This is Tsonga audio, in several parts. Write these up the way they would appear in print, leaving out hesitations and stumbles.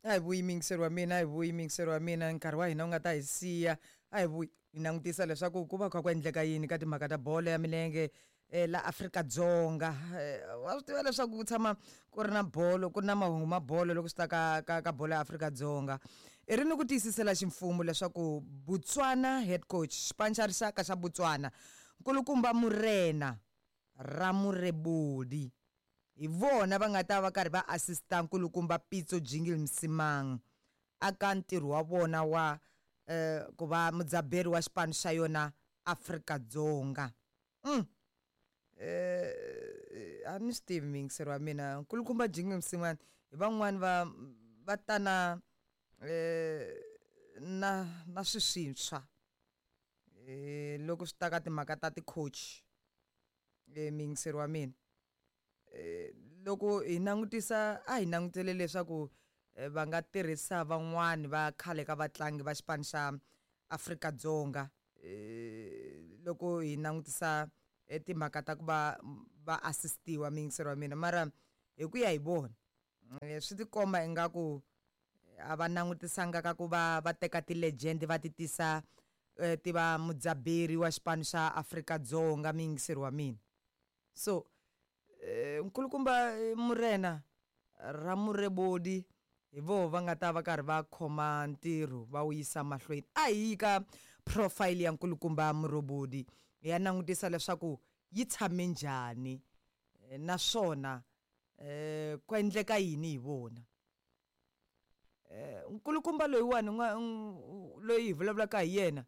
A hi vuyi muyingiseri wa mina, a hi vuyi muyingiseri wa mina, nkarhi wa hina wu nga ta hi siya. A hi vuyi hi langutisa leswaku ku va kha ku endleka yini ka timhaka ta bolo ya milenge la Afrika-Dzonga. Wa swi tiva leswaku ku tshama ku ri na bolo ku ri na mahungu ma bolo loko swi ta ka ka ka bolo ya Afrika-Dzonga. I ri ni ku tiyisisela ximfumo leswaku Botswana head coach xipano xa rixaka xa Botswana nkulukumba Murena Ramoreboli hi vona va nga ta va karhi va assista nkulukumba Pitso Jingle Msimang aka ntirho wa vona wa ku va mudzaberi wa xipano xa yona Afrika-Dzonga. A ni swi tivi muyingiseri wa mina nkulukumba Jingle Msimang hi van'wani va va ta na na na swi swintshwa loko swi ta ka timhaka ta ti-coach muyingiseri wa mina. Loko hi langutisa a hi langutele leswaku va nga tirhisa van'wani va khale ka vatlangi va xipano xa Afrika-Dzonga loko hi langutisa timhaka ta ku va va assist-iwa muyingiseri wa mina mara hi ku ya hi vona swi tikomba ingaku a va langutisanga ka ku va va teka ti-legend va ti tisa ti va mudzaberi wa xipano xa Afrika-Dzonga muyingiseri wa mina. So nkulukumba Murena Ramoreboli hi voho va nga ta va karhi va khoma ntirho va wu yisa mahlweni. A hi yi ka profile ya nkulukumba Murobodi hi ya langutisa leswaku yi tshame njhani naswona ku endleka yini hi vona. Nkulukumba loyiwani loyi hi vulavulaka hi yena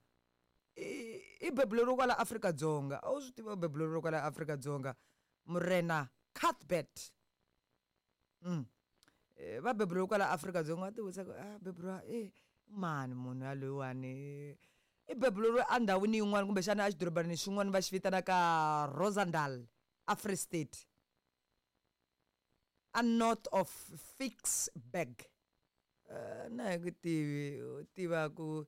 i bebuleriwe kwala Afrika-Dzonga a wu swi tiva u bebuleriwe kwala Afrika-Dzonga Murena Cuthbert. Va beburiwe kwala Afrika-Dzonga wa ti vutisa ku a beburiwa e mani munhu yaloyiwani i bebuleriwe endhawini yin'wana kumbexana exidorobanini xin'wana va xi vitanaka Rosandal a Free State a north of Ficksburg. Na hi ku tivi u tiva ku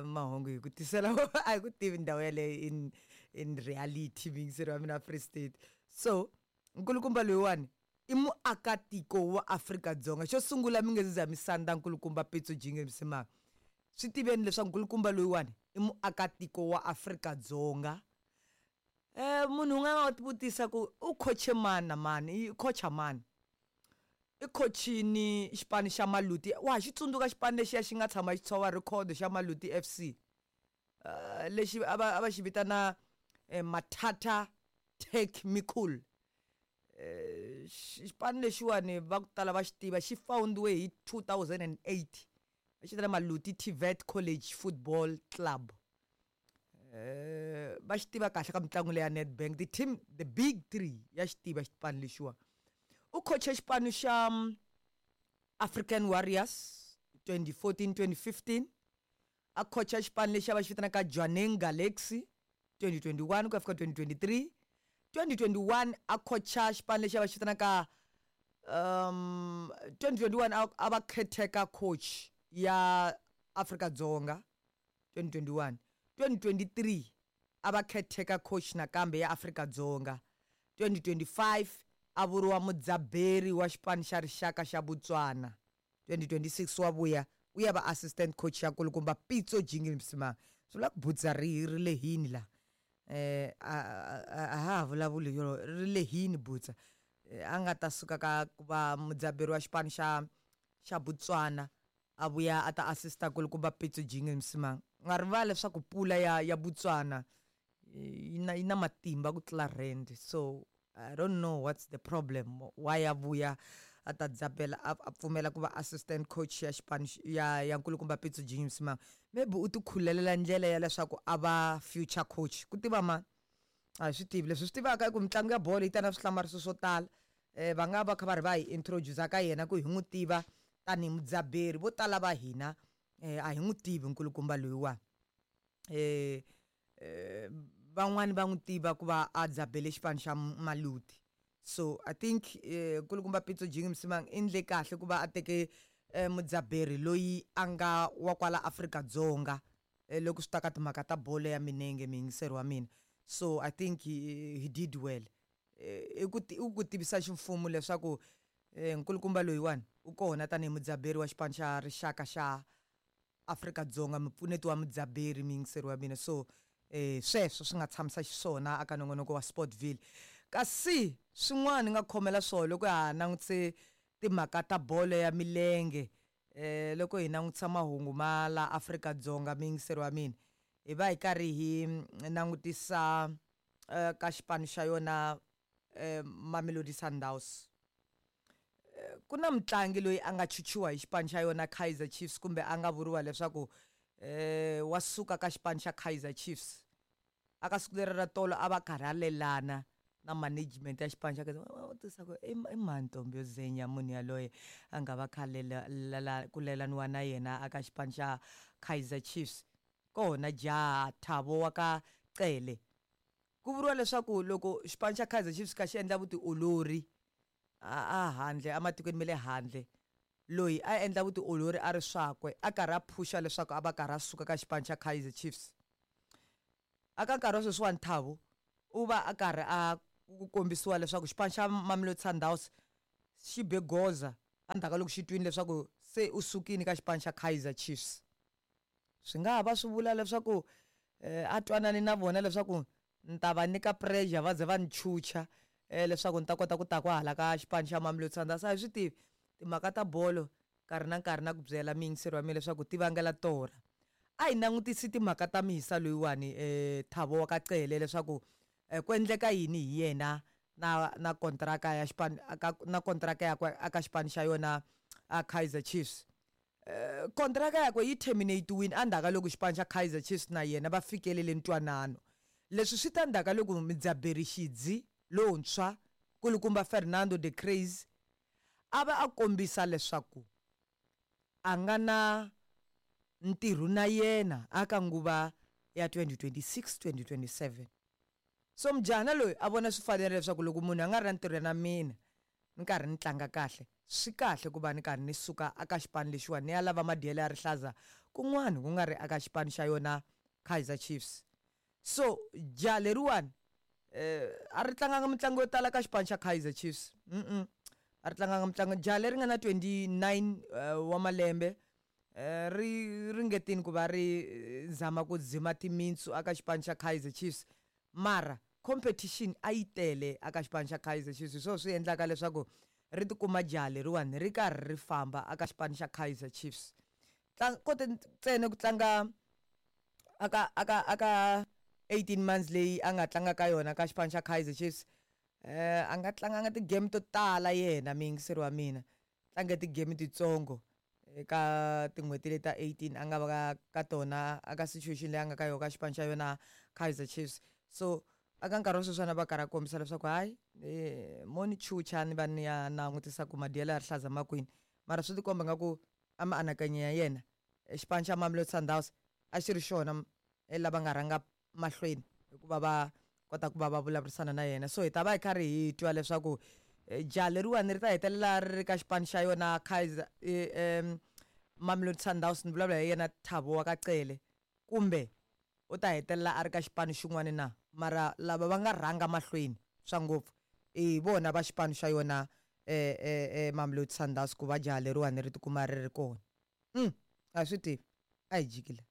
mahungu hi ku tisela a hi ku tivi ndhawu yaleyo in reality muyingiseri wa mina Free State. So nkulukumba loyiwani i muakatiko wa Afrika-Dzonga. Xo sungula mi nge se za mi sandza nkulukumba Pitso Jingle Msimang, swi tiveni leswaku nkulukumba loyiwani i muakatiko wa Afrika-Dzonga. Munhu un'wana wa tivutisa ku u khoche mani na mani i khocha mani i khochini xipano xa Maluti wa ha xi tsundzuka xipano lexiya xi nga tshama xi tshova record xa Maluti FC lexi a va a va xi vitana Mathatha Tech Mikul. Xipano lexiwani va ku tala va xi tiva xi foundiwe hi 2008 va xi vitana Maluti TVET College Football Club. Va xi tiva kahle ka mitlangu leya Nedbank the team the big three ya xi tiva xipano lexiwa. U khoche xipano xa African Warriors 2014 2015 a khocha xipano lexi a va xi vitanaka Jwaneng Galaxy 2021 ku ya fika 2023 2021 a khocha xipano lexi a va xi vitanaka 2021 a va caretaker coach ya Afrika-Dzonga 2021 2023 a va caretaker coach nakambe ya Afrika-Dzonga 2025 a vuriwa mudzaberi wa xipano xa rixaka xa Botswana 2026 wa vuya u ya va assistant coach ya nkulukumba Pitso Jingle Msimang. Swi vula ku butsa ri ri lehini la a a ha vulavuli yo ri lehini butsa a nga ta suka ka ku va mudzaberi wa xipano xa xa Botswana a vuya a ta assista nkulukumba Pitso Jingle Msimang. U nga rivali leswaku pula ya ya Botswana yi na yi na matimba ku tlula rand so I don't know what's the problem why a vuya a ta dzabela a pfumela ku va assistant coach ya xipano ya ya nkulukumba Pitso Jingle Msimang. Maybe u ti khulelela ndlela ya leswaku a va future coach ku tiva mani a hi swi tivi leswi swi tivaka i ku mitlangu ya bolo yi ta na swihlamariso swo tala va nga va kha va ri va hi introduce ka yena ku hi n'wi tiva tanihi mudzaberi vo tala va hina a hi n'wi tivi nkulukumba loyiwani. Van'wani va n'wi tiva ku va a dzabele xipano xa Maluti so I think nkulukumba Pitso Jingle Msimang i endle kahle ku va a teke mudzaberi loyi a nga wa kwala Afrika-Dzonga loko swi ta ka timhaka ta bolo ya milenge muyingiseri wa mina so I think he did well. I ku i ku tivisa ximfumo leswaku Nkulukumba loyiwani u kona tanihi mudzaberi wa xipano xa rixaka xa Afrika-Dzonga, mupfuneti wa mudzaberi, muyingiseri wa mina. So sweswo swi nga tshamisa xiswona aka nongonoko wa Sportville. Kasi swin'wana ni nga khomela swona loko ha langutise timhaka ta bolo ya milenge, loko hi langutisa mahungu ma la Afrika-Dzonga, muyingiseri wa mina, hi va hi karhi hi langutisa ka xipano xa yona Mamelodi Sundowns. Ku na mutlangi loyi a nga chuchiwa hi xipano xa yona Kaizer Chiefs, kumbe a nga vuriwa leswaku wa suka ka xipano xa Kaizer Chiefs. Aka siku leri ra tolo a va karhi a lelana na management ya xipano xa Kaizer. Va vutisa ku i mani ntombi yo zenya munhu yaloye a nga va kha ku lelaniwa na yena aka xipano xa Kaizer Chiefs. Kona jaha Thabo wa ka Cele. Ku vuriwa leswaku loko xipano xa Kaizer Chiefs kha xi endla vutiolori a handle ematikweni ma le handle, loyi a endla vutiolori a ri swakwe a karhi a phusha leswaku a va karhi a suka ka xipano xa Kaizer Chiefs. Aka nkarhi wa sweswiwani Thabo u va a karhi a kombisiwa leswaku xipano xa Mamelodi Sundowns xi be goza endzhaku ka loko xi twini leswaku se u sukile ka xipano xa Kaizer Chiefs. Swi nga ha va swi vula leswaku a twanani na vona leswaku ni ta va nyika pressure va ze va ni chucha leswaku ni ta kota ku ta kwahala ka xipano xa Mamelodi Sundowns. A hi swi tivi timhaka ta bolo, nkarhi na nkarhi na ku byela muyingiseri wa mina leswaku ti vangela torha. A hi langutisi timhaka ta mihisa loyiwani Thabo wa ka Cele leswaku ku endleka yini hi yena na kontraka ya xipano na kontraka yakwe aka xipano xa yona a Kaizer Chiefs. Kontraka yakwe yi terminate-wini endzhaku ka loko xipano xa Kaizer Chiefs na yena va fikelele ntwanano. Leswi swi ta ndzhaku ka loko mudzaberi xidzi lontshwa kulukumba Fernando de Crazy a va a kombisa leswaku a nga na ntirho na yena aka nguva ya 2026-2027. So mujahana loyi a vona swi fanerile leswaku loko munhu a nga ri na ntirho na mina ni karhi ni tlanga kahle, swi kahle ku va ni karhi ni suka aka xipano lexiwani ni ya lava madyelo ya rihlaza kun'wana ku nga ri aka xipano xa yona Kaizer Chiefs. So jaha leriwani a ri tlanganga mitlangu yo tala ka xipano xa Kaizer Chiefs. A ri tlanganga mitlangu. Jaha leri nga na 29 wa malembe ri ringetini ku va ri zama ku dzima timintsu aka xipano xa Kaizer Chiefs, mara competition a yi tele aka xipano xa Kaizer Chiefs. Hi swona swi endlaka leswaku ri tikuma jaha leriwani ri karhi ri famba aka xipano xa Kaizer Chiefs. Kote ntsena ku tlanga aka 18 months leyi a nga tlanga ka yona ka xipano xa Kaizer Chiefs. A nga tlanganga ti-game to tala yena muyingiseri wa mina, tlange ti-game titsongo eka tin'hweti leti ta 18 a nga va ka tona aka situation leyi a nga ka yona ka xipano xa yona Kaizer Chiefs. So aka nkarhi wa sweswiwani va karhi a kombisa leswaku hayi mo ni chucha ni va ni ya langutisa ku madyelo ya rihlaza ma kwini, mara swi tikomba nga ku a mianakanyo ya yena xipano xa Mamelodi Sundowns a xi ri xona lava nga rhanga mahlweni hikuva va kota ku va va vulavurisana na yena. So hi ta va hi karhi hi twa leswaku jaha leriwani ri ta hetelela ri ri ka xipano xa yona Kaizer Mamelodi Sundowns, ni vulavula hi yena Thabo wa ka Cele, kumbe u ta hetelela a ri ka xipano xin'wana na. Mara lava va nga rhanga mahlweni swa ngopfu i vona va xipano xa yona Mamelodi Sundowns ku va jaha leriwani ri tikuma ri ri kona. A swi tivi, a hi jikile.